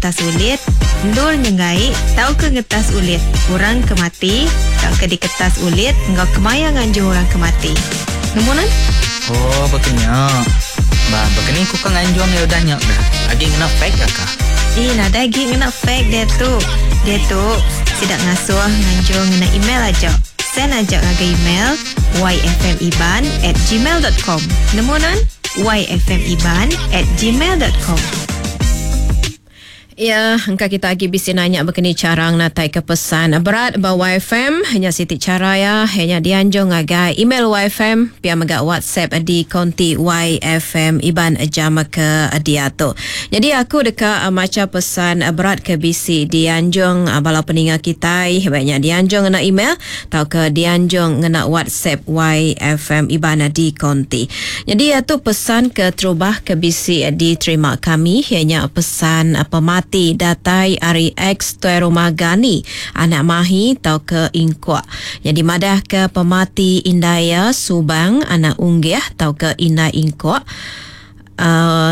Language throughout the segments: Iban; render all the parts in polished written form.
ngetas ulit, endur nyenggai tauka ngetas ulit orang ke mati tauka diketas ulit enggau kemaya nganjung orang ke mati. Nemu nan? Oh, baka nya. Ba, baka ni ku ka nganjung iya udah nya kah? Agi ngena fax ka kah? Ih, nadai agi ngena fax diatu. Diatu, sida ngasuh nganjung ngena email aja. Send aja ngagai email yfmiban at gmail dot com. Nemu nan? yfmiban at gmail dot com. Ya, engka kita agi bisi nanya bekeni chara ngenataika pesan berat ba YFM. Nya siti chara iya, iya nya dianjung ngagai email YFM pia mega WhatsApp di konti YFM Iban jam ke diatu. Nyadi aku deka macha pesan berat ke bisi dianjung bala peninga kitai ba nya dianjung ngena email tauka dianjung ngena WhatsApp YFM Iban di konti. Nyadi tu pesan keterubah ke bisi diterima kami iya nya pesan pemati datai ari ex Tuai Rumah Gani anak Mahi tauka Ingkok. Nyadi madahka pemati indai iya Subang anak Unggih tauka Indai Ingkok.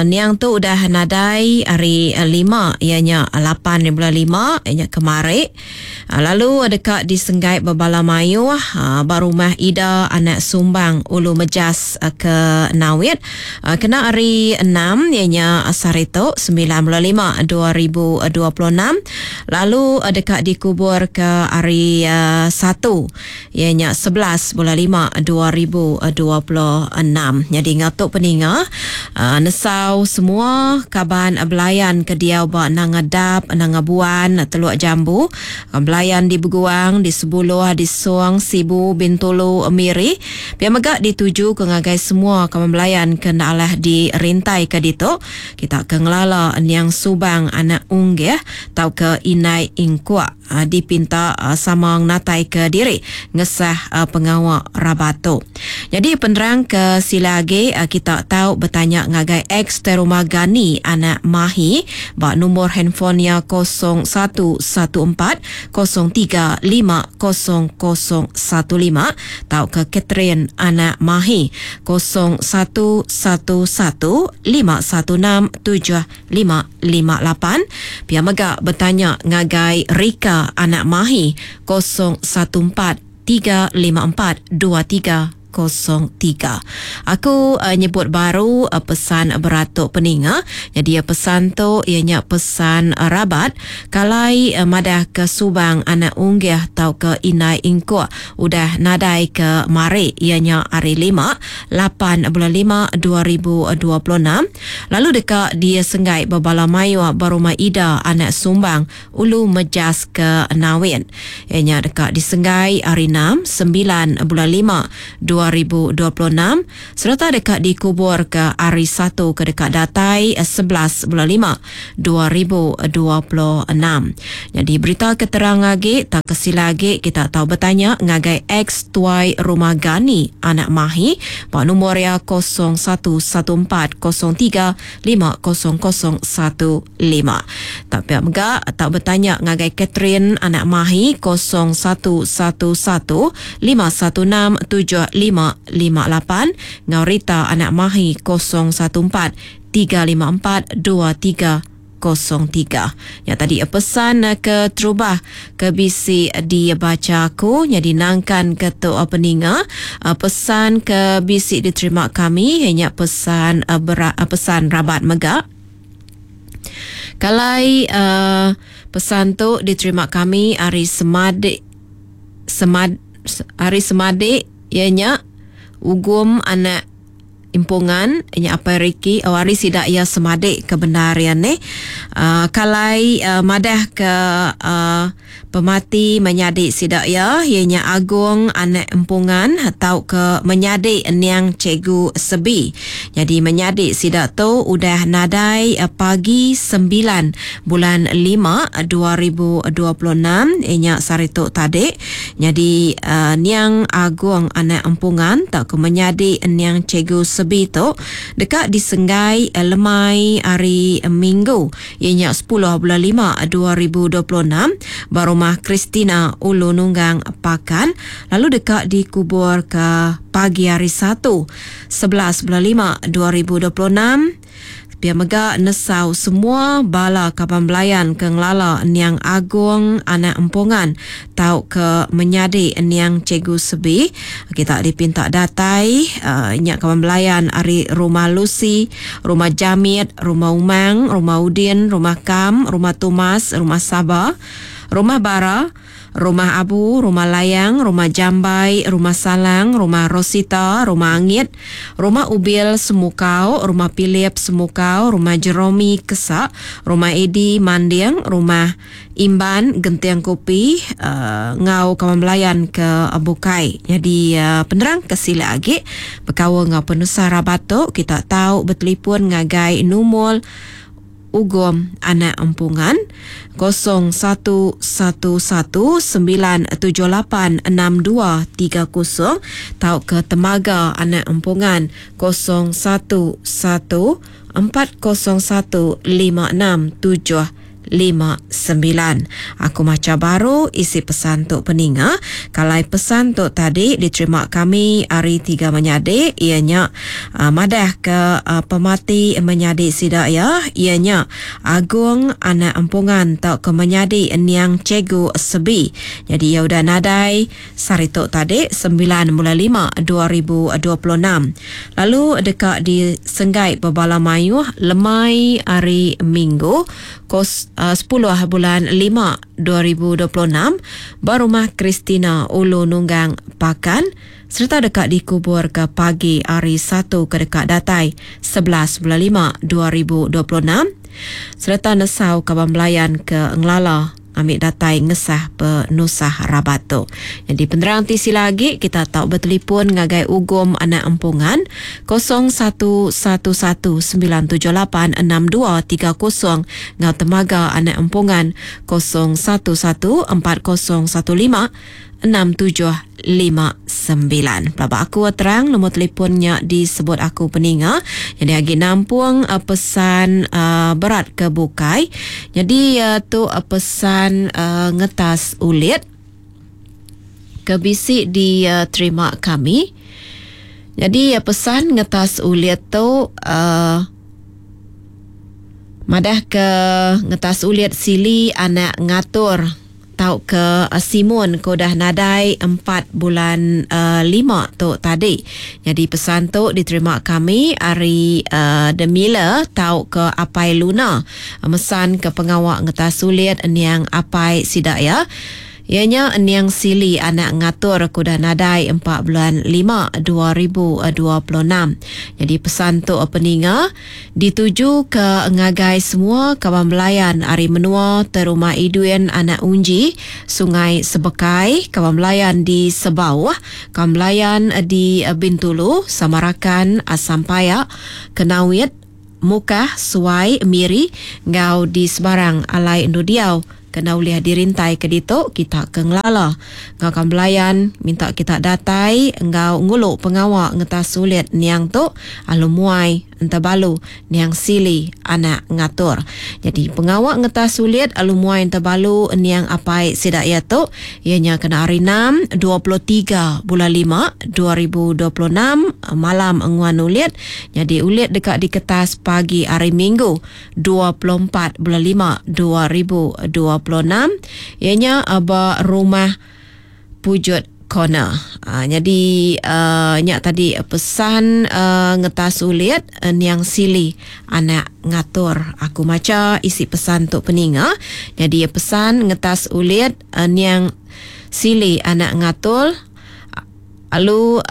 Niang tu udah nadai hari lima iya nya lapan hari bulan lima iya nya kemari lalu deka disenggai bebala mayuh ba rumah Ida anak Sumbang Ulu Mejas ke Nawit kena hari enam iya nya sehari tu semilan bulan lima 2026 lalu deka dikubur ke hari satu iya nya 11 bulan 5 2026. Nyadi enggau tu peninga nesau semua kaban belayan ke diau ba Nanga Dap, Nanga Buan, Teluk Jambu, belayan di Beguang, di Sebuluh, di Song, Sibu, Bintulu, Miri. Pia mega dituju ke ngagai semua kaban belayan ke enda alah dirintai ke ditu. Kita ke ngelala niang Subang anak Unggih tauka Indai Ingkuk. dipinta sama ngenataika diri ngesah pengawa rabat tu. Nyadi penerang ke sila agi kita tau betanya ngagai ex Teruma Gani anak Mahi ba nombor handphone iya 0114 03 50015 tauka Catherine anak Mahi 0111 516 7 558. Pia mega betanya ngagai Rika anak Mahi 014 354 2303. Aku nyebut baru pesan berat tu peninga. Nyadi pesan tu iya nya pesan rabat kalai madah ke Subang anak Unggih tauka Indai Ingkuk udah nadai ke mari iya nya hari lima lapan bulan lima 2026. Lalu deka disenggai bebala mayuh ba Rumah Ida anak Sumbang, Ulu Mejas ke Nawin. Iya nya deka disenggai hari enam, sembilan bulan lima, 2026 sereta deka dikuburka hari Satu ke deka datai 11 bulan lima, 2026. Nyadi berita ke terang agi tauka sila agi kita tau betanya ngagai ex Tuai Rumah Gani anak Mahi ba nombor iya 011403 50015. Tau pia mega tau betanya ngagai Catherine anak Mahi 0111 516 7558 enggau Rita anak Mahi 014 354 2303. Nya tadi pesan ke terubah ke bisi dibacha aku nyadi nangkan ke tu peninga pesan ke bisi diterima kami iya nya pesan pesan rabat mega. Kalai pesan tu diterima kami ari Semadik Semad ari Semadik iya nya Ugum anak Impungan nya apai Ricky oh ari sida iya semadik ke bendar iya neh uhh kalai uhh madah ke uhh pemati menyadi sida iya iya nya Agong anak Empungan tauka menyadi niang Cikgu Sebi. Nyadi menyadi sida tu udah nadai pagi sembilan bulan lima 2026 iya nya sehari tu tadi. Nyadi niang Agong anak Empungan tauka menyadi niang Cikgu Sebi tu deka disenggai lemai hari Minggu iya nya sepuluh bulan lima 2026 ba Rumah Christina Ulu Nunggang Pakan lalu deka dikuburka pagi hari Satu 11 bulan lima 2026. Pia mega nesau semua bala kaban belayan ke ngelala niang Agong anak Empongan tauka menyadi niang Cikgu Sebi. Kita dipinta datai nya kaban belayan ari Rumah Lucy, Rumah Jamit, Rumah Umang, Rumah Udin, Rumah Kam, Rumah Tumas, Rumah Saba, Rumah Bara, Rumah Abu, Rumah Layang, Rumah Jambai, Rumah Salang, Rumah Rosita, Rumah Angit, Rumah Ubil Semukau, Rumah Philip Semukau, Rumah Jeromi Kesak, Rumah Edi Manding, Rumah Imban Genting Kopi enggau kaban belayan ke bukai. Nyadi penerang ke silik agi bekaul enggau penusah rabat tu kita tau betelipun ngagai numur Ugom anak Empungan, 0111 978 6230 tauka Temaga anak Empungan, 011 401 56 7 59. Aku macha baru isi pesan tu peninga. Kalai pesan tu tadi diterima kami ari tiga menyadi iya nya madah ke pemati menyadi sida iya iya nya Agong anak Empungan tauka menyadi niang Cikgu Sebi. Jadi iya udah nadai sehari tu tadi 9 bulan 5 2026. Lalu deka disenggai bebala mayuh lemai hari Minggu kos 10 bulan 5 2026 ba Rumah Christina Ulu Nunggang Pakan sereta deka dikuburka pagi hari Satu ke deka datai 11 bulan 5 2026 sereta nesau kaban belayan ke ngelala ambil datai ngesah penusah rabat tu. Jadi penerang ti sila agi kita tau bertelefon ngagai Ugom anak Empungan 0111 978 6230 ngau Temaga anak Empungan 011 4015 6759. Pelaba aku terang nombor telefonnya disebut aku peninga. Jadi agi nampung pesan berat ke bukai. Jadi tu pesan ngetas ulit ke bisi diterima kami. Jadi pesan ngetas ulit tu madah ke ngetas ulit sili anak ngatur tau ke Simon ke udah nadai 4 bulan 5 tu tadi. Jadi pesan tu diterima kami ari The Miller tau ke Apai Luna mesan ke pengawak ngetas ulit niang Apai sida ya. Ianya niang Sili anak ngatur ke udah nadai 4 bulan 5 2026. Jadi pesan tu peninga dituju ke ngagai semua kaban belayan ari menua Terumah Idwin anak Unji, Sungai Sebekai, kaban belayan di Sebauh, kaban belayan di Bintulu, Samarakan, Asampayak, Kenawit, Mukah, Suai, Miri, ngau di Sebarang alai endu diau. Kena ulih dirintai ke ditu kita ke ngelala. Ngau kaban belayan minta kita datai ngau ngulu pengawa ngetas sulit niang tu alu muai entabalu niang Sili anak ngatur. Jadi pengawa ngetas sulit alu muai entabalu niang apai sida ia tu ianya kena hari 6 23 bulan 5 2026 malam nguan ulit. Jadi ulit dekat di kertas pagi hari Minggu 24 bulan 5 2026 ianya ba rumah Pujut Corner. Jadi nyak tadi pesan ngetas ulit niang Sili anak ngatur. Aku maca isi pesan tu peninga. Jadi pesan ngetas ulit niang Sili anak ngatur lalu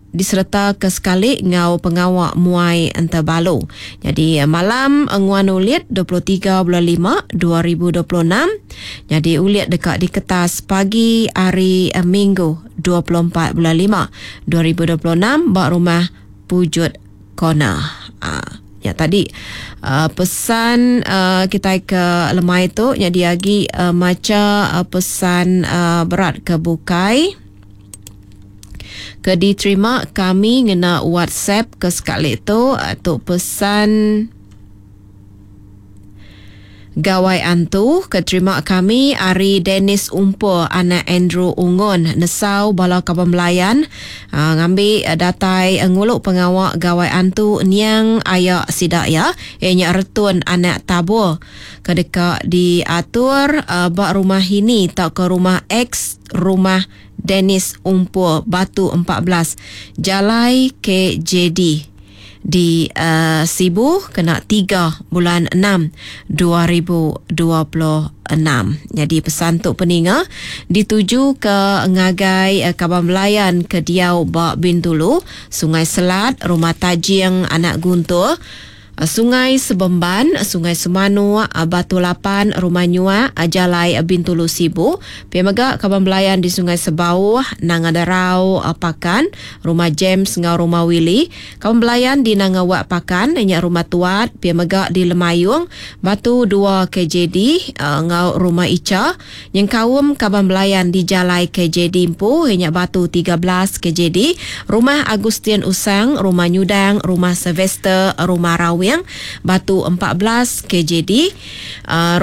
diserta ke sekali ngau pengawa muai entabalu. Jadi malam nguan ulit 23 bulan 5 2026. Jadi ulit dekat di kertas pagi hari Minggu 24 bulan 5 2026 ba rumah Pujut Corner. Ya tadi pesan kita ke lemai tu jadi agi maca pesan berat ke bukai. Ke diterima kami ngena WhatsApp ke sekali tu tu pesan. Gawai Antu ke terima kami ari Dennis Umpur anak Andrew Ungon nesau bala kaban belayan ngambi datai ngulu pengawa Gawai Antu niang aya sida iya iya nya Retun anak Tabor ke deka diatur ba rumah Hini tauka rumah ex rumah Dennis Umpur Batu 14 Jalai KJD di Sibu kena 3 bulan 6 2026. Nyadi pesan tu peninga dituju ke ngagai kaban belayan ke diau ba Bintulu, Sungai Selat, Rumah Tajing Anak Guntur, Sungai Sebemban, Sungai Semanuk, Batu Lapan, Rumah Nyuak, Jalai Bintulu Sibu. Pia mega kaban belayan di Sungai Sebauh, Nanga Derau, Pakan, Rumah James enggau Rumah Willie. Kaban belayan di Nanga Wak Pakan nya Rumah Tuat, pia mega di Lemayung, Batu 2 KJD enggau Rumah Icha. Nyengkaum kaban belayan di Jalai KJD empu iya nya Batu 13 KJD, Rumah Agustin Usang, Rumah Nyudang, Rumah Sylvester, Rumah Rawing, Batu 14 KJD,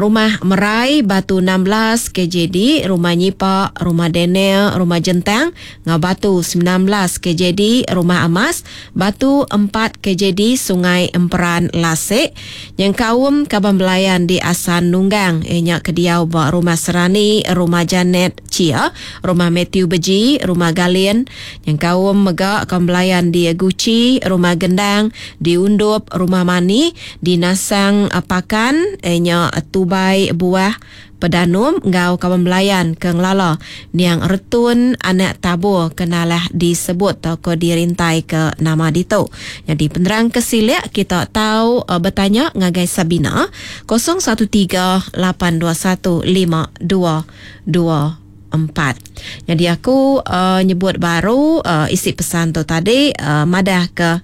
Rumah Merai, Batu 16 KJD, Rumah Nyipa, Rumah Daniel, Rumah Jentang enggau Batu 19 KJD, Rumah Amas, Batu 4 KJD, Sungai Emperan Lasik. Nyengkaum kaban belayan di Asan Nunggang iya nya ke diau ba Rumah Serani, Rumah Janet Chia, Rumah Mathew Beji, Rumah Galin. Nyengkaum mega kaban belayan di Guchi, Rumah Gendang, di Undup, Rumah Mani, di Nasang Pakan iya nya Tubai Buah, Pedanum enggau kaban belayan ke ngelala niang Retun anak Tabur ke nalah disebut tauka dirintai ke nama ditu. Nyadi penerang ke silik kita tau betanya ngagai Sabina 013 821 5224. Nyadi aku nyebut baru isi pesan tu tadi madah ke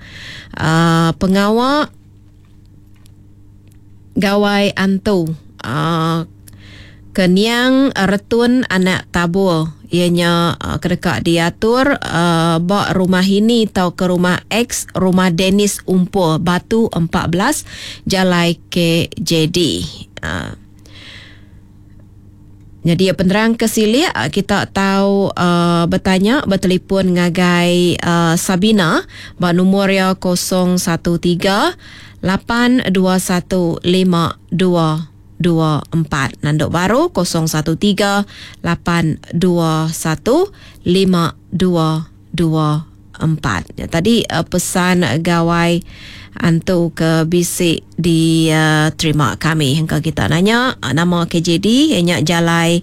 pengawa Gawai Antu ke niang Retun anak Tabur iya nya ke deka diatur ba rumah Hini tauka rumah ex rumah Dennis Umpur Batu 14 Jalai KJD. Nyadi penerang ke silik kita tau betanya betelefon ngagai Sabina ba nombor iya 013 821 5224. Nanduk baru 013 821 5224. Nya tadi pesan gawai antu ke bisi diterima kami. Engka kita nanya nama KJD nya jalai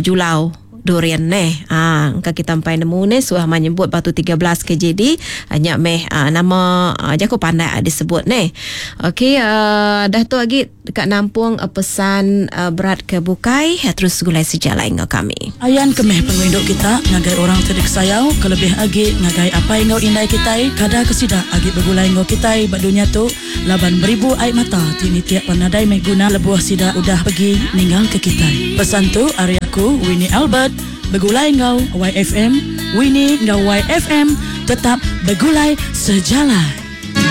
Julau Durian neh. Ha engka kita empai nemu neh suah mah nyebut batu 13 KJD nya meh nama jaku pandak disebut neh. Okey dah tu agi Deka nampung pesan berat ke bukai terus segulai sejalai enggau kami. Ayan ke meh pengerindu kita ngagai orang ti dikesayau kelebih agi ngagai apai enggau indai kitai kada ke sida agi begulai enggau kitai ba dunya tu laban beribu ai mata ti nitik pan nadai meh guna lebuh sida udah pegi ninggal ke kitai. Pesan tu ari aku Winnie Albert begulai enggau YFM Winnie enggau YFM tetap begulai sejalai.